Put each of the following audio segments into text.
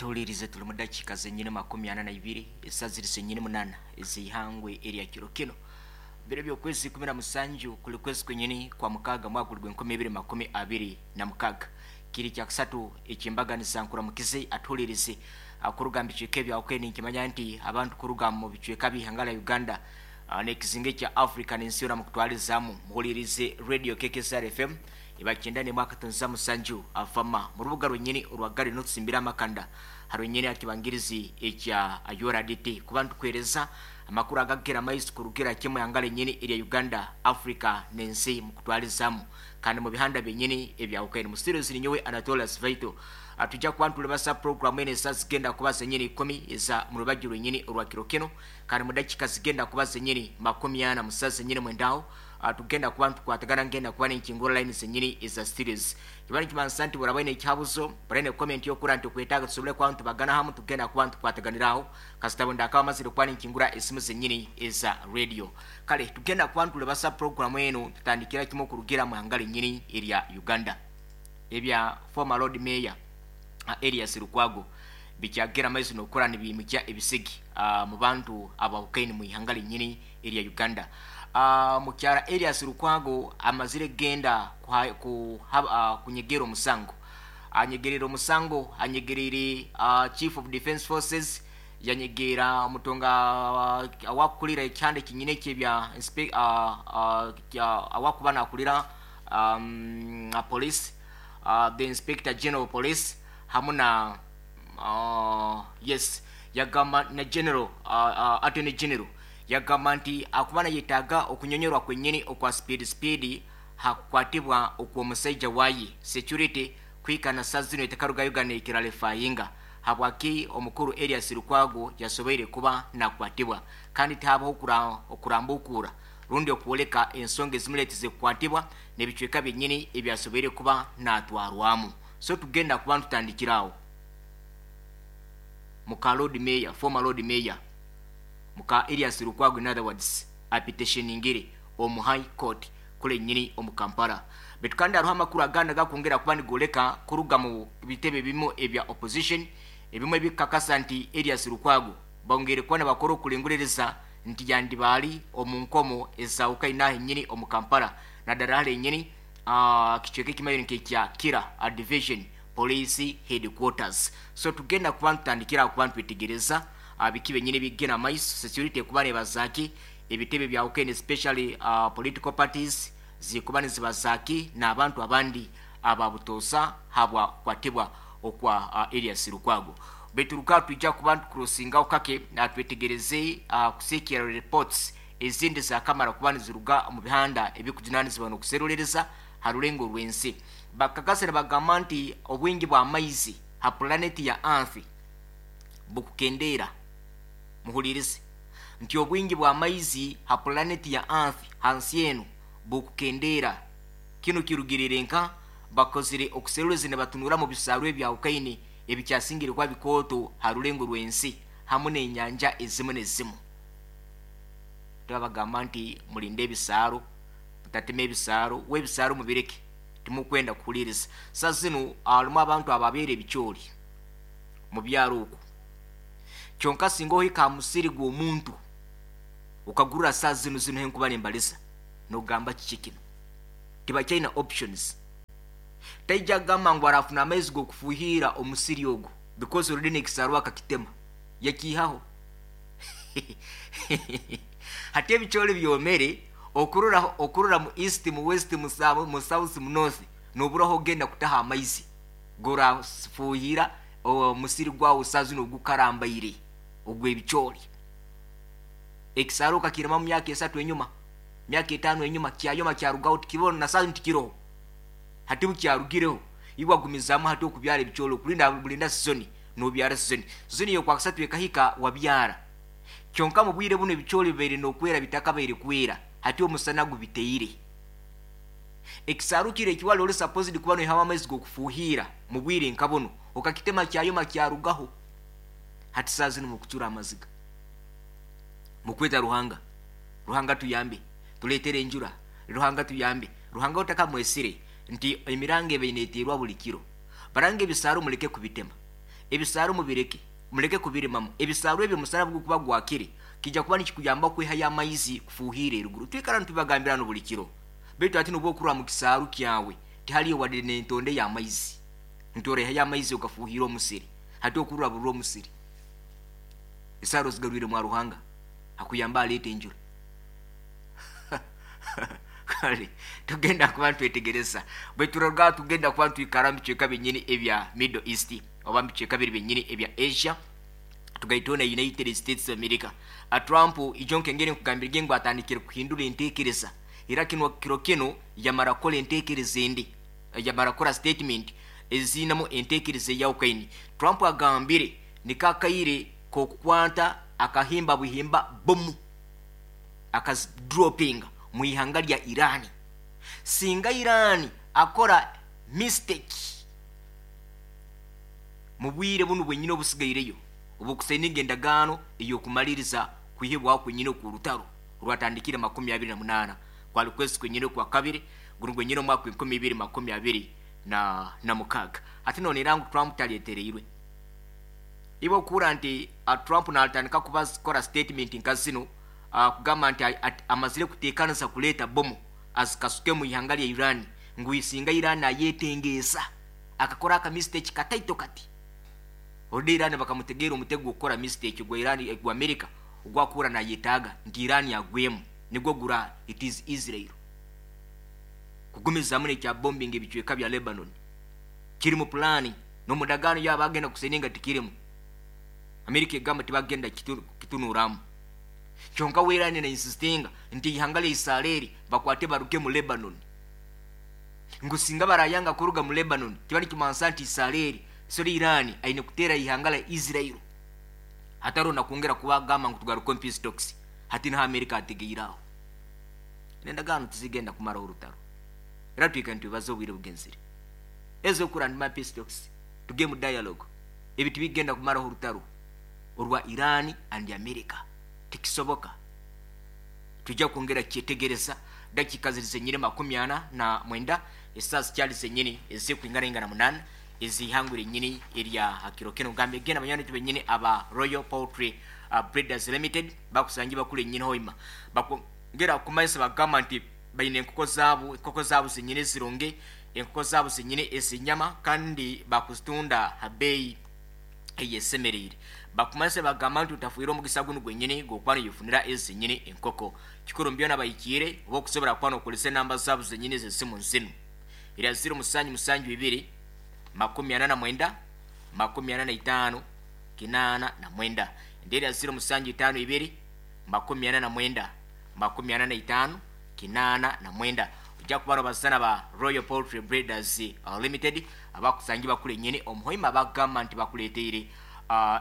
Atuhuliirize tuli mu dakiika zenyini 42 esa ziri zenyini 8 ez'eihangwe erya kiro kino biro by'okwezi 17 kuli kwezi kwenyini kwa mukaaga mwaka guli gw'enkumi ibiri 26. Kiri kyakusatu eky'embaganiza nkuramukize atuhuliirize kuruga mu bicweka ebyahukene. Ninkimanya nti abantu kuruga mu bicweka by'ihanga lya Uganda n'ekizinga ekya Africa n'ensi yoona mukutwalizaamu muhuliirize Radio KKSR FM eba 91.7 afama mu rubuga rwenyini orwa Gari n'otusimbira amakanda ha rwenyini aha kibangirizi ekya URDT kuba nitukuheereza amakuru agakukira amaiso kurugira kimwe ihanga ryenyini erya Uganda, Africa n'ensi mukutwalizaamu kandi mu bihanda byenyini ebyahukene. Mu studio ziri nyowe Anatolius Vaito. Twija kuba nitulibasa puroguramu eno esa zigenda kuba zenyini 10 eza mu rubaju rwenyini orwa kiro kinu kandi mu dakiika zigenda kuba zenyini 40 musa zenyini mwendaho tugenda kuba nitukwatagana ngenda kuba ninkingura line zenyini eza studios. Kiba nikimanisa nti buraba oine ekihabuzo, buraba oine comment yokura nti okwetaaga tusobole kuba nitubagana hamu tugenda kuba nitukwataganiraho kasita bundi akaba amazire kuba ninkingura esimu zenyini eza radio. Kale tugenda kuba nitulibasa puroguramu enu tutandikira kimwe okurugira mu ihanga ryenyini erya Uganda. Ebya former Lord Mayor Erias Lukwago bikyagera amaizi nokura nibimukya ebisigi mu bantu abahukaine mu ihanga ryenyini erya Uganda. Mukyara Erias Lukwago amazire kugenda kunyegera omusango. Anyegerire omusango, anyegerire Chief of Defence Forces, yanyegeera omutonga awakukurira ekihanda ekinyine ekyebya awakuba nakurira police, the Inspector General of Police hamu na yes yagamba na General Attorney General yagamba nti akuba nayetaaga okunyonyorwa kwenyini okwa speed speed hakukwatibwa okw'omusaija waye security kuhika na saa zinu etakarugayo ganeekiralefayinga habwaki omukuru Erias Lukwago yasoboire kuba nakwatibwa kandi tihabaho okurambukuura rundi okwoleka ensonga ezimuleetize kukwatibwa n'ebicweka byenyini ebyasoboire kuba natwarwamu. So tugenda kuba nitutandikira aho muka Lord Mayor, former Lord Mayor muka Erias Lukwago, in other words apetitioningire omu High Court kule nyini omu Kampala. Baitu kandi hariho amakuru agandi agakwongera kuba nigoleka kuruga mu bitebe ebimu ebya opposition ebimwe ebikukakasa nti Erias Lukwago bongeire kuba nibakora okulenguririza nti yandiba ari omu nkomo ezahukaine aha enyini omu Kampala nadara hare enyini kicweka ekimayire nk'ekya Kira Division Police Headquarters. So tugenda kuba nitutandikira aho kuba nitwetegereza biki byenyini ebikugenda omu maiso, security ekuba nebazaaki, ebitebe ebyahukene especially political parties zikuba nizibazaaki n'abantu abandi aba butoosa habwa kukwatibwa okwa Erias Lukwago. Baitu ruka twija kuba nitukurosingaho kake twetegereze kusiikirra reports ezindi zakamara kuba niziruga omu bihanda ebikujunanizibwa n'okuserulereza ha rulengo rw'ensi. Bakakasa nibagamba nti obwingi bw'amaizi ha pulaneti ya Earth bukukendeera. Muhuliirize nti obwingi bw'amaizi ha pulaneti ya Earth, ha nsi enu, bukukendeera. Kinu kirugiriire nka bakozire okuseruliza nibatunura mu bisaaru ebyahukaine ebikyasingire kuba bikooto ha rulengo rw'ensi hamu n'enyanja ezimu n'ezimu. Tibabagamba nti mulinde ebisaaru, mutatema ebisaaru, we ebisaaru mubireke, timukwenda kuhuliiriza. Sa zinu harimu abantu ababeera ebicoori mu byaro oku. Kyonka singa ohika aha musiri gw'omuntu okagurura saa zinu zinu henkuba nimbaliza, nogamba kiki kinu? Tibakyaina options. Taija kugamba ngu arafuna amaizi g'okufuhiira omusiri ogu because already n'ekisaaru akakitema, yakiihaho. Hati ebicoori byomere okurora okurora mu east, mu west, mu mu south, mu north nobura ahu ogenda kutaha amaizi gorafuhiira omusiri gwawe saa zinu ogukarambaire ogw'ebicoori. Ekisaaru okakirima mu myaka esatu enyuma, myaka etaano enyuma kyayoma kyarugaho tikiroho na saa zinu tikiroho. Hati bukyarugireho iwe wagumizaamu hati okubyara ebicoori okurinda burinda sizoni nobyara sizoni. Sizoni y'okwakasatu ekahika wabyara. Kyonka mu bwire bunu ebicoori bibaire n'okwera bitakabaire kwera, hati omusana gubiteire. Ekisaaru kiri eki wali ori supposed kuba noihamu amaizi g'okufuuhiira mu bwire nka bunu, okakitema kyayoma kyarugaho. Hati saaha zinu mukucura amaziga. Mukweta Ruhanga, Ruhanga tuyambe, tuleetere enjura, Ruhanga tuyambe. Ruhanga otakamwesire nti emiranga ebaire neteerwa buri kiro. Baranga ebisaaru mureke kubitema. Ebisaaru mubireke, mureke kubirimamu. Ebisaaru ebyo omusana bugurikuba gwakire, kiija kuba nikikuyamba kwihayo amaizi kufuuhiira eruguru. Twikara nitubibagambira hanu buri kiro. Beitu hati nobu okurora mu kisaaru kyawe, tihariyo wadde n'entonde y'amaizi. Nti oraihayo amaizi ogafuuhiire omusiri. Hati okurora burora omusiri. Esaara ozigarwire mwa Ruhanga akuyambe aleete enjura. Kale tugenda kuba nitwetegereza. Bwe turaruga aha tugenda kuba nitwikara omu bicweka byenyini ebya Middle East oba omu bicweka biri byenyini ebya Asia tugaiteho na United States of America. A Trump ijo nkengeri nkugambirege ngu atandikire kuhindura entekereza era kinu kiro kinu yamara kukora entekereza endi yamara kukora statement eziinemu entekereza eyahukainie. Trump agambire niko akaire k'okukwata akahimba buhimba bomu akazidropinga mu ihanga rya Iran. Singa Iran akora mistake mu bwire bunu bwenyini obusigaireyo obw'okusaininga endagaano ey'okumaliriza kwihibwaho kwenyini okw'orutaro orwatandikire 28 kwali kwezi kwenyini okwa kabiri gunu gwenyini omwaka gw'enkumi ibiri makumi abiri na mukaaga. Hati nonera ngu Trump taryetereirwe. Iwe okuhurra nti Trump natandika kukora statement nka zinu kugamba nti amazire kutekanisa kureeta bomu azikasuke omu ihanga rya Iran ngu singa Iran ayetengeesa akakora aka mistake kataito kati already Iran bakamutegeera omutego gw'okukora mistake gwa Iran gwa America ogwakuhurra nayetaaga nti Iran agwemu nigwo gura it is Israel kugumizamu nekya bombing ebicweka bya Lebanon kiri mu pulaani n'omu ndagaano yaabo bagenda kuseninga tikirimu. America egamba tibagenda kitunuuramu. Kyonka we Iran na insistinga nti eihanga rya Isareri bakwate baruge mu Lebanon. Ngu singa barayanga kuruga mu Lebanon kiba nikimansa nti Isareri sorry Iran aine kuteera eihanga rya Israel. Hatariho na kwongera kubagamba ngu tugaruke omu peace talks. Hati niho America ategeire aho. N'endagaano tizigenda kumaraho orutaro. Era twikare nitwebaza obwire bugenzire. Ez'okura ndi ma peace talks tuge mu dialogue ebi tibigenda kumaraho orutaro orwa Iran and America tikisoboka twija kwongera kukyetegereza dakiika ziri zenyini 49 esaaha zikyari zenyini ezikwinganaingana munana ez'eihangwe ryenyini erya hakiro kinu ngambe genda banywani baitu benyini aba Royal Poultry Breeders Limited bakusangi bakuru enyini hoima bakwongera kumanyisa bagamba nti baine enkoko zaabo enkoko zaabo zenyini ezirungi Enkoko zaabo zenyini ez'enyama kandi baakuzitunda ha beeyi eyesemereire. Bakumanyisa nibagamba nti otafiirwe omugisa gunu gwenyini gw'okuba noyefunira ezi zenyini enkoko. Kikuru omu byona bahikiire oba okusobora kuba nokozesa enamba zaabo zenyini ez'esimu zinu, erya ziro musanju musanju ibiri, 49, 45, 89 endi erya ziro musanju itaano ibiri, 49, 45, 89. Oija kuba nobaza na ba Royal Poultry Breeders Limited abakusangi bakuru enyini omu Hoima abakugamba nti bakuleteire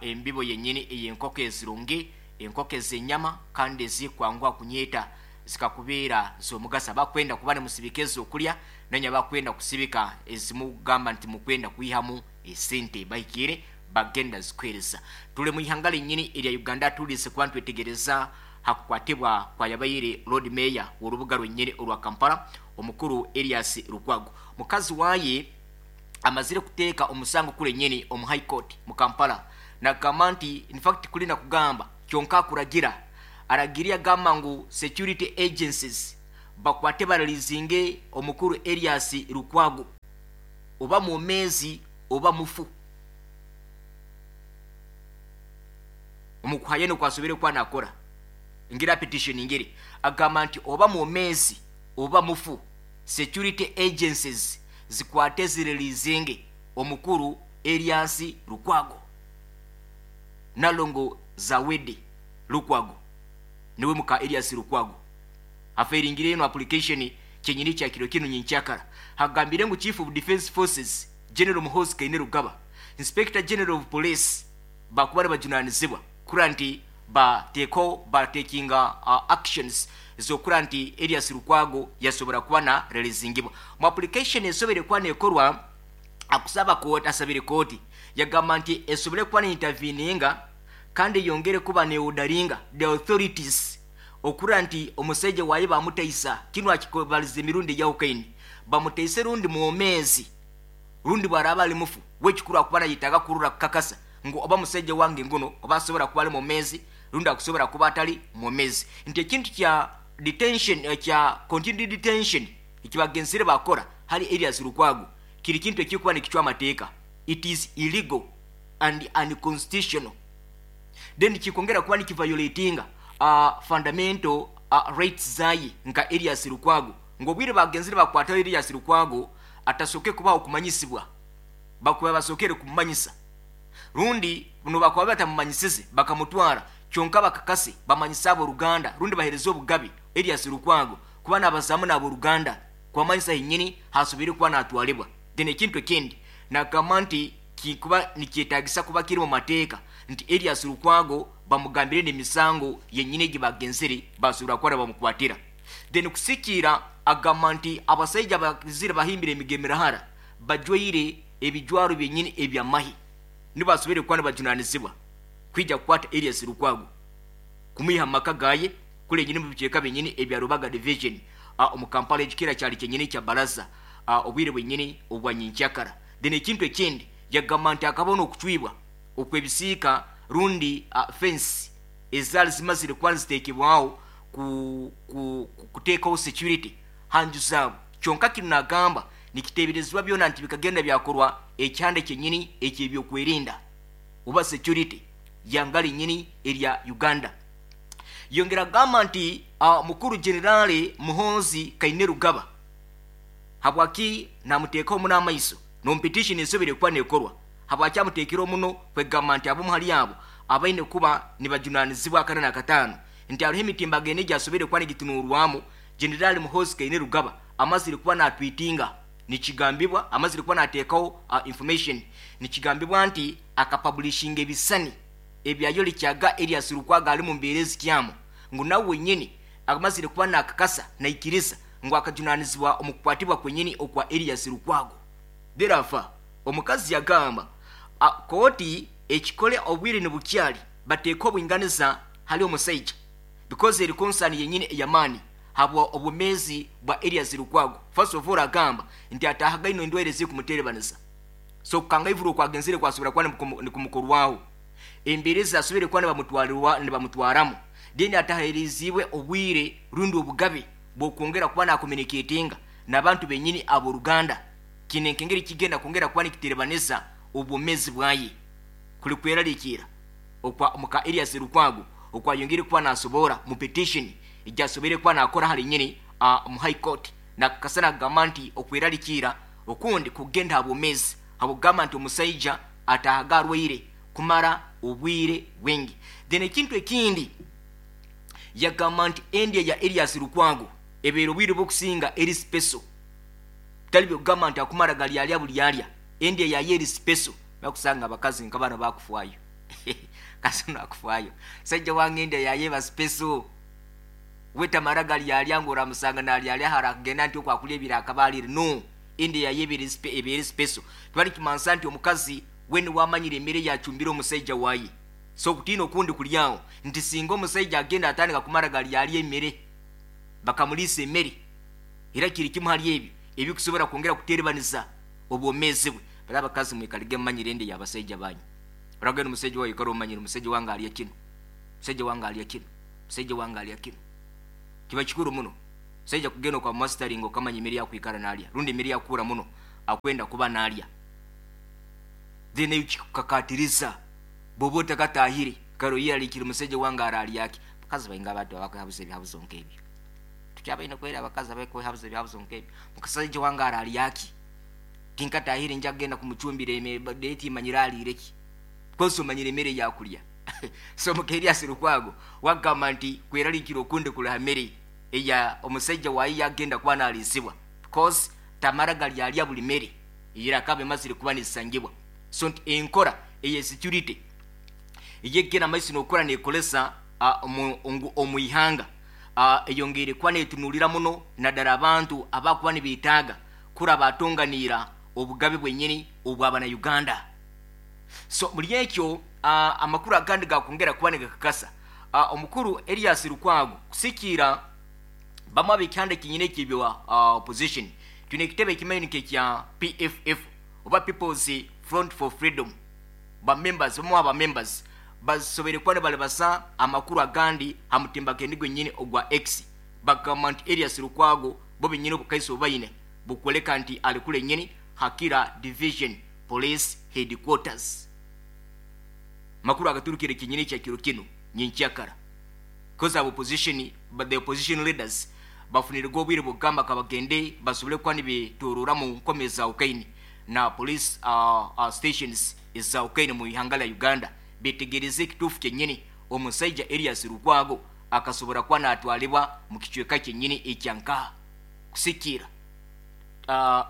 embibo yenyini ey'enkoko ezirungi, enkoko ez'enyama kandi ezikwanguha kunyeeta zikakubeera z'omugaso. Abakwenda kuba nimusibika ez'okulya nanye abakwenda kusibika ezimugamba nti mukwenda kwihamu esente bahikiire bagenda zikuheereza. Turi mu ihanga rinyini erya Uganda turize kuba nitwetegereza ha kukwatibwa kwa yabaire Lord Mayor w'orubuga rwenyini orwa Kampala omukuru Erias Lukwago. Mukazi waye amazire kuteeka omusango kuri enyini omu High Court mu Kampala nagamba nti in fact kuri nakugamba kyonka akuragira aragire yagamba ngu security agencies bakwate bareleasinge omukuru Erias Lukwago oba mwomeezi oba mufu. Omu kuhayana oku asoboire kuba nakora ngira petition ngeri agamba nti oba mwomeezi oba mufu security agencies zikwate zireleasinge omukuru Erias Lukwago. Nalongo Zawedde Lukwago niwe muka Erias Lukwago afairingire enu application kyenyini kya kiro kinu nyenkyakara. Agambire ngu Chief of Defence Forces General Muhoozi Kainerugaba, Inspector General of Police bakuba nibajunanizibwa kurora nti bateekaho ba takinga actions z'okurora nti Erias Lukwago yasobora kuba na releasingibwa. Mu application esoboire kuba nekorwa akusaba kooti asabire kooti yagamba nti esobole kuba ne interveninga kandi eyongere kuba ne orderinga the authorities okurora nti omusaija waaye bamutaisa kinu akikobaliza emirundi eyahukaine bamutaise rundi mwomeezi. Rundi bwaraaba ali mufu, we ekikuru akuba nayetaaga kurora kukakasa ngu oba musaija wange nguno oba asobora kuba ali mwomeezi rundi akusobora kuba atali mwomeezi. Nti ekintu kya detention, kya continued detention ekibagenzire bakora hali Erias Lukwago kiri kintu ekirikuba nikicwa amateeka, it is illegal and unconstitutional. Then kikongera kuba nikiviolatinga fundamental rights zaye nka Erias Lukwago, ngu obwire bagenzire bakwataho Erias Lukwago atasoke kubaho kumanyisibwa, bakuba basokere kumumanyisa, rundi nobakuba batamumanyisize bakamutwara, kyonka bakakase bamanyise ab'oruganda rundi bahereze obugabe Erias Lukwago kuba nabazamu n'ab'oruganda kubamanyisa hinyini hasobire kuba natwalibwa. Then ekintu ekindi nagamba nti kikuba nikyetagisa kuba kiri mu mateeka nti Erias Lukwago bamugambire n'emisango yenyini egi bagenzire basobora kuba bamukwatira. Then kusikiira agamba nti abasaija abazire bahimbire emigemirahara bajwaire ebijwaro byenyini ebyamahi nibasobire kuba nibajunanizibwa kwija kukwata Erias Lukwago kumwiha mu maka gaye kule nyini mu bicweka byenyini ebya Rubaga Division omu Kampala, ekikira kyali kyenyini kya baraza obwire bwenyini obwa nyenkyakara. Then ekintu ekindi yagamba nti akabona okucwibwa okwebisiika rundi fence ezaali zimazire kuba nizitekebwaho kuteekaho security hanju zaabo, kyonka kinu nagamba nikiteeberezibwa byona nti bikagenda byakorwa ekihanda kyenyini ekyebyokwerinda oba security yanga linyini erya Uganda. Yongera agamba nti mukuru Generale Muhoozi Kainerugaba habwaki namuteekaho muno amaiso n'omu petition esobire kuba nekorwa, habwaki amuteekere omuno kwegamba nti abamu hali abo abaine kuba nibajunanizibwa akana n'akataano nti hariho emitimbagano egi asobire kuba nigitunurwamu. Generale Muhoozi Kainerugaba amazire kuba natwitinga, nikigambibwa amazire kuba nateekaho information, nikigambibwa nti akapublishinga ebisani ebyayorekyaga Erias Lukwago ali mu mbeera ezikyamu, ngu nawe wenyini amazire kuba nakakasa naikiriza ngu akajunanizibwa omu kukwatibwa kwenyini okwa Erias Lukwago. Therefore, omukazi yagamba kooti ekikole obwire nibukyali bateeka obwinganiza hali omusaija because eri concern yenyini eyamaani habwa obwomeezi bwa Erias Lukwago. First of all agamba nti ataahaga ino endwaire ezikumuterebaniza, so kukangaivurwa okwagenzire kwasobora kuba nikumukorwaho embeera ezasobire kuba nibamutwaramu, then atahereziibwe obwire rundi obugabe bw'okwongera kuba nakommunicatinga n'abantu benyini ab'oruganda. Kine nkengeri kigenda kwongera kuba nikiterebaniza obwomeezi bwaye. Kuli kweraliikirra okwa muka Erias Lukwago okwayongere kuba nasobora mu petition ejasobere kuba nakora hali nyini mu High Court, nakakasa nagamba nti okweraliikirra okundi kugenda ha bwomeezi habwokugamba nti omusaija ataahaga arwaire kumara obwire bwingi. Then ekintu ekindi yagamba nti endya ya Erias Lukwago ebeera obwire bw'okusinga eri special, bitali byokugamba nti akumara galyalya bulyalya, endya yaye eri special. Bakusanga abakazi nka bano bakufwayo kazi nakufwayo saija wange endya yaye eba special, we tamara galyalya ngu oramusanga nalyalya hara akagenda nti okwakulya ebiro akaba alire, no, endya yaye ebeere special. Tibali kimansa nti omukazi we niwe amanyire emere yacumbire omusaija waye, so okutiina okundi kuri aho nti singa omusaija agenda atandika kumara galyalya emere bakamuliisa emere, era kiri kimu hali ebyo ebikusobora kwongera kuterebaniza obwomeezi bwe. Bari abakazi mwikarige mumanyire endya y'abasaija banyu. Oragenda omusaija wawe oikara omanyire omusaija wange alya kinu, omusaija wange alya kinu, omusaija wange alya kinu. Kiba kikuru muno omusaija kugenda okamumasitaringa okamanya emere yakwikara nalya rundi emere yakukura muno akwenda kuba nalya. Then eyo kikukakatiriza bwoba otakatahire kare oyeralikire omusaija wange aralyaki. Abakazi baingi abantu abakwehabuza ebihabuzo nk'ebyo. Tukyabaine kwera abakazi abakwehabuza ebihabuzo nk'ebyo. Mukasaija wange aralyaki? Tinkatahire nja kugenda kumucumbira emere timanyire aliire ki. Because omanyire emere yakulya. So muka Erias Lukwago wagamba nti kweraliikira okundi kuli ha mere eya omusaija waye yagenda kuba naliisibwa because tamara galyalya buli mere eyirakaba emazire kuba nisangibwa. So nti enkora eye security eyegenda maiso nokukora nekolesa omu ihanga eyongeire kuba netunulira muno naddala abantu abakuba nibetaaga kura batonganiira obugabe bwenyini obwabana Uganda. So muri ekyo amakuru agandi gakwongera kuba nigakakasa omukuru Erias Lukwago kusikiira bamwe ab'ekihanda kyenyini ekyebya opposition twine ekitebe ekimanyi nk'ekya PFF. Oba People's Front for Freedom ba members, bamu aha ba members basoboire kuba nibarabasa amakuru agandi aha mutimbagano gwenyini ogwa X bagamba nti Erias Lukwago bo benyini obukaiso obu baine bukworeka nti ari kure nyini Hakira Division Police Headquarters. Amakuru agaturukire kinyini ekya kiro kinu nyenkyakara coz aba opposition, the opposition leaders bafunirege obwire bwokugamba kabagende basobole kuba nibetorora mu nkome ezahukahine na police stations ezahukahine mu ihanga lya Uganda betegereze ekituufu kyenyini omusaija Erias Lukwago akasobora kuba natwalibwa mu kicweka kyenyini ekya nkaha kusikiira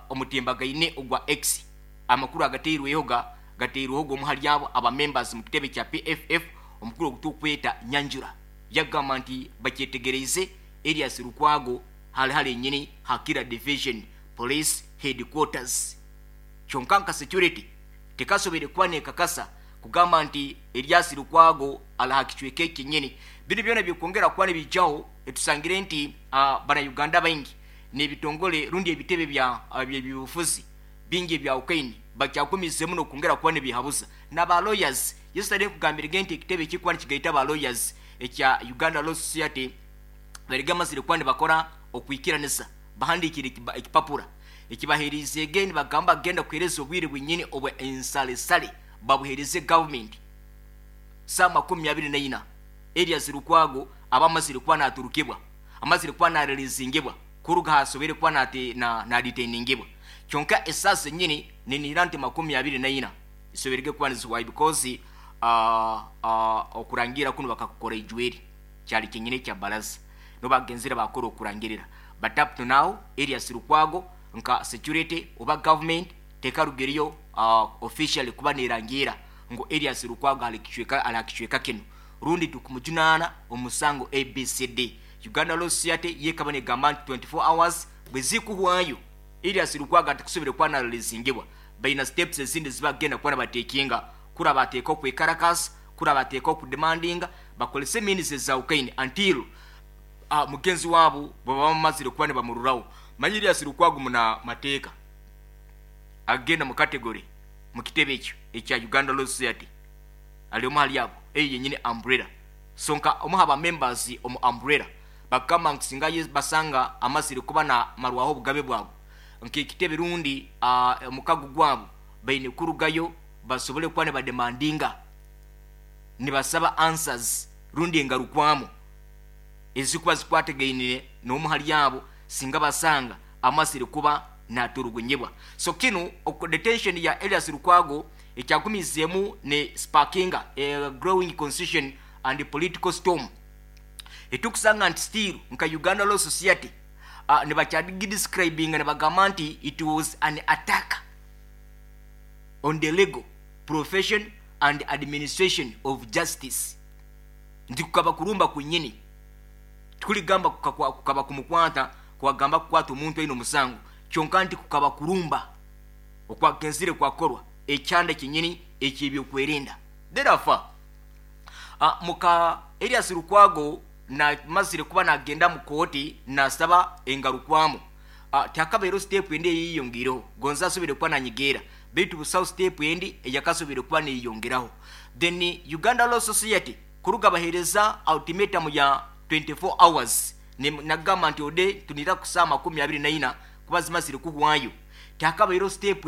omutimbagaine ogwa X. Amakuru agateirweho ga gateirweho g'omu hali abo aba members mu kitebe kya PFF omukuru ogu tukweta Nyanjura yagamba nti bakyetegereize Erias Lukwago hali hali enyini ha Kira Division Police Headquarters kyonka nka security tekasoboire kuba nekakasa kugamba nti Erias Lukwago ali ha kicweka eki kyenyini. Binu byona birikwongera kuba nibijaho tusangire nti bana Uganda baingi nebitongole rundi ebitebe bya byebyobufuzi bingi ebyahukaine bakyagumiizemu nokwongera kuba nibehabuza na ba lawyers. Yesterday nkugambirege nti ekitebe ekirikuba nikigaita ba lawyers ekya Uganda Law Society barige amazire kuba nibakora okwikiranisa bahandiikire ekipapura ekibaheerizeege nibagamba kugenda kuheereza obwire bwenyini obwa ensalesale babuheereze government saaha 24 Erias Lukwago aba amazire kuba naturukibwa amazire kuba nareleasingibwa kuruga aha asoboire kuba nadetainingibwa kyonka esaaha zenyini ninihira nti 24 zisoboirege kuba nizihwayo because okurangiira kunu bakakukora ijweri kyari kyenyini ekya baraza nibo bagenzire bakora okurangirira but up to now Erias Lukwago nka security oba government tekarugireyo officially kuba nerangiira ngu Erias Lukwago ali aha kicweka kinu rundi tukumujunaana omusango ABCD. Uganda Law Society yo ekaba negamba nti 24 hours bwezikuhwayo Erias Lukwago atakusobire kuba nareleasingibwa baina steps ezindi ezibakugenda kuba nibatekinga kuri bateeka okwekarakaasa kuri bateeka okudemandinga bakorese means ezahukaine until mugenzi waabo bwebaba bamazire kuba nibamururaho. Manya Erias Lukwago muna mateeka agenda mu category mu kitebe ekyo ekya Uganda Law Society ari omwe ahari abo eyo yenyini umbrella so nka omwe aha ba members omu umbrella bakagamba ngu singa basanga amazire kuba namarwaho obugabe bwabo nk'ekitebe rundi omukago gwabo baine kurugayo basobole kuba nibademandinga nibasaba answers rundi engarukwamu ezikuba zikwatagaine n'omwe ahari abo singa basanga amazire kuba naturugunyibwa. So kinu detention ya Erias Lukwago ekyagumizeemu ne sparkinga a growing constitution and political storm etukusanga nti still nka Uganda Law Society nibakyagidescribinga nibagamba nti it was an attack on the legal profession and administration of justice nti kukaba kurumba kwenyini tikurigamba kukaba kumukwata kwagamba kukwata omuntu aine omusango kyonka nti kukaba kurumba okwagenzire kwakorwa ekyanda kyenyini ekyebyokwerinda. Therefore muka Erias Lukwago namazire kuba nagenda mu kooti nasaba engarukwamu tihakabaire step endi eyeyongireho gonza asobire kuba nanyigeera beitu busaho step endi eyakasobire kuba neyeyongeraho. Then Uganda Law Society kuruga bahereza ultimatum ya 24 hours nagamba nti ode tunira ku saaha 24 kuba zimazire kuhwayo tihakabaire step.